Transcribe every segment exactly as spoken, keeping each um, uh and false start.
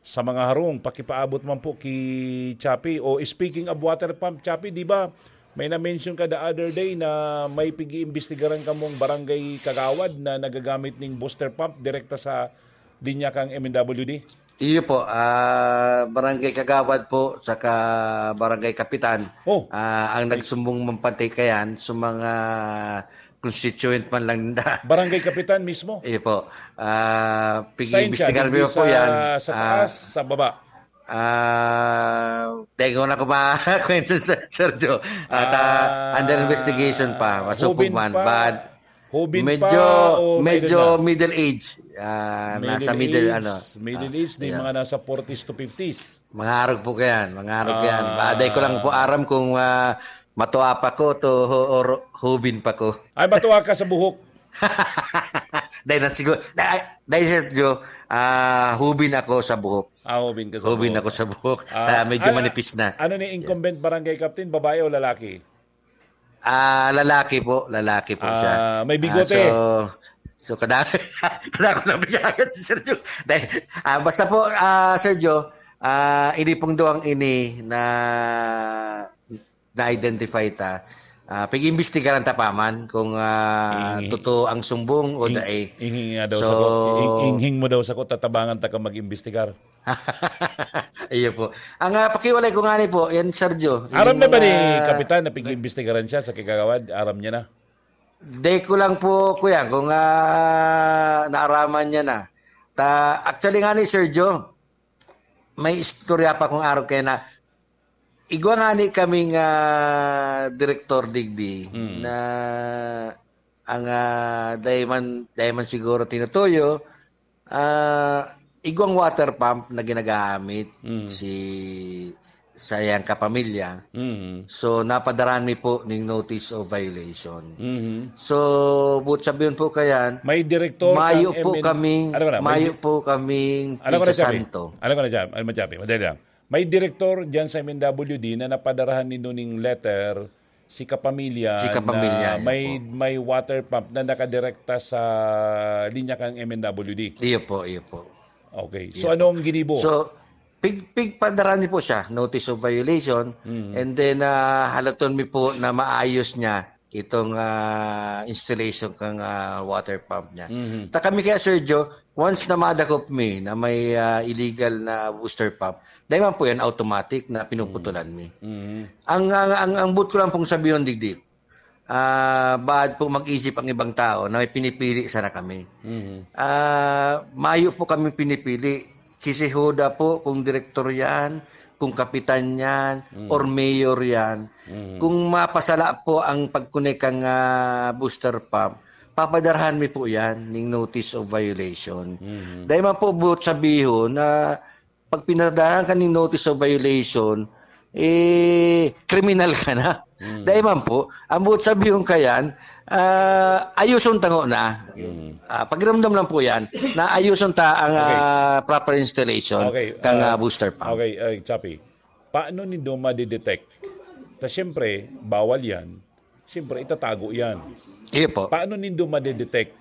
Sa mga harong, pakipaabot man po ki Chappy. O, speaking of water pump, Chappy, di ba may na-mention ka the other day na may pig-iimbestigaran kamong barangay kagawad na nagagamit ning booster pump direkta sa linya kang M N W D? Iyo po, ah, barangay kagawad po, saka barangay kapitan, Oh, ah, ang may nagsumbong man pati kayan sa mga constituent man lang ninda. Barangay kapitan mismo? Iyo po. Ah, Saan siya? pig-iimbestigaran Digdi po sa, yan. sa Ah, taas, sa baba? Ah, tengo na ko makakwento sa Sergio. At, ah, Ah, under investigation pa. Masupog hubin man, pa, but hubin medyo, pa o may edad medyo na? middle age. Ah, nasa Middle middle, age, ano. middle Ah, age, di yeah. mga nasa forties to fifties. Mangarog po kayan, mangarog kayan. Ah. Baday ko lang po aram kung, ah, matuwa pa ko to ho-, or hubin pa ko. Ay, matuwa ka sa buhok. Dahil na siguro, dahil, dahil Sergio, ah, hubin ako sa buhok. Ah, hubin ka sa Hubin buhok. ako sa buhok. Ah, Ah, medyo ano, manipis na. ano ni Yes. incumbent barangay captain, babae o lalaki? Ah, lalaki po, lalaki po siya. Ah, may Ah, bigote. so, so kadako, kadako na bigayan si Sergio. Dahil, ah, basta po, ah, Sergio, ah, ini pong duwang ini na na-identify ta, ah, pag-imbestigaran ta pa man kung, ah, Inghi-, totoo ang sumbong o ing-, dai. inghi nga daw So, sako, ing-, inghing mo daw sako, tatabangan ta ka mag-imbestigar. Iyo po. Ang, ah, pakiwalay ko nga ni po, yan, Sergio, Aram yung na ba ni mga Kapitan na pag-iimbestigaran siya sa kagawad? Aram niya na? Di ko lang po, kuya, kung, ah, naaraman niya na. Ta, actually nga ni Sergio, may istorya pa kung araw kaya na igwa nga ni kaming, ah, direktor digdi Mm. na ang, ah, dai man, dai man siguro tinutuyo, ah, igwang water pump na ginagamit Mm. si sa iyang kapamilya. Mm. So, napadarahan mi po ning notice of violation. Mm. So, buot sabihin po kayan, May direktor mayo kang po M N kaming, Ano ka na? May mayo di-, po kaming ano ka na, Chabi? isasanto. Ano ka na, Chabi? Ano, Chabi? Madali lang. May direktor dyan sa M N W D na napadarahan nindo ning letter si kapamilya Si kapamilya, na iyo may, po. may water pump na nakadirekta sa linya kang M N W D. Iyo po, iyo po. Okay. So, Iyo po. anong ginibo? So, pig-, pigpadara ni po siya, notice of violation, Mm. and then, ah, halaton mi po na maayos niya itong, ah, installation kang, ah, water pump niya. Mhm. Ta kami kaya, Sergio, once na madakop mi na may, ah, illegal na booster pump, dahil man po yan, automatic na pinuputulan mi. Mhm. Ang, ang, ang, ang buot ko lang pong sabihon, digdi, ah, baad po mag-isip ang ibang tao na may pinipili sana kami. Mhm. Ah, mayo po kami pinipili. Si Jehoda po, kung direktor yan, kung kapitan yan, Mm. or mayor yan, Mm. kung mapasala po ang pagkunik kang, ah, booster pump, papadarahan mi po yan ning notice of violation. Mhm. Dahil man po, buot sabihon na pag pinadarahan ka ning notice of violation, eh, kriminal ka na. Mm. Dahil man po, ang buot sabihon kayan, ah, ayuson tango na. Mm. Ah, pakiramdam lang po yan, na ayuson ta ang, Okay. ah, proper installation Okay, kang, ah, ah, booster pump. okay, ay, Chappy, paano nindo madidetect? Ta siyempre, bawal yan. Siyempre, itatago yan. Iyo po. Paano nindo madidetect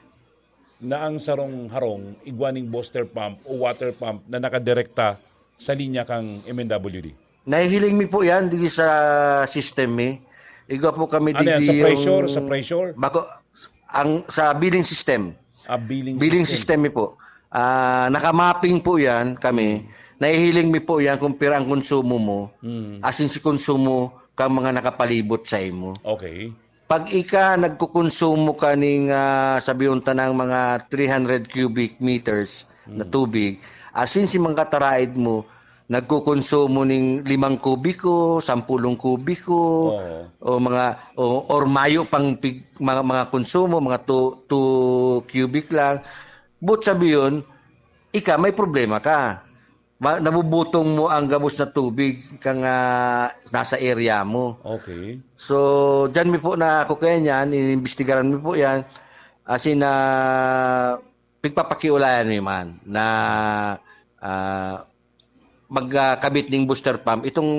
na ang sarong harong, igwa ning booster pump o water pump na nakadirekta sa linya kang M N W D? Nahihiling mi po yan, di sa system mi. Igwa po kami Ano yan? Sa digdi pressure? yung Sa pressure? Bako, ang, sa billing system. Ah, billing Billing system. system mi po. Ah, nakamapping po yan kami. Nahihiling mi po yan kung pira ang konsumo mo. Mm. Asin si konsumo kang mga nakapalibot sa imo. Okay. Pag ika nagkukonsumo ka ning, ah, sabihon ta ng mga three hundred cubic meters na Mm. tubig, asin si mga kataraid mo, nagkukonsumo ning limang kubiko, sampulong kubiko, Oo. o mga, o, or mayo pang pig-, mga, mga konsumo, mga two, two cubic lang, buot sabihon, ika, may problema ka. Ma-, nabubutong mo ang gabos na tubig kang, ah, nasa area mo. Okay. So, diyan mi po na, ako kaya niyan, inimbestigaran mi po yan. As in, ah, pigpapakiulayan mi man na, ah, mag, ah, kabit ning booster pump, itong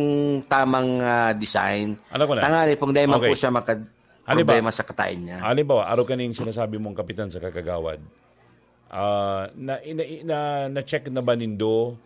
tamang, ah, design. Alam ko na. Tangani pong dahil man Okay. po siya makad-, Halimbawa, problema sa katain niya. halimbawa, araw kaning sinasabi mong kapitan sa kagagawad, ah, na, na, na, na-check na ba nindo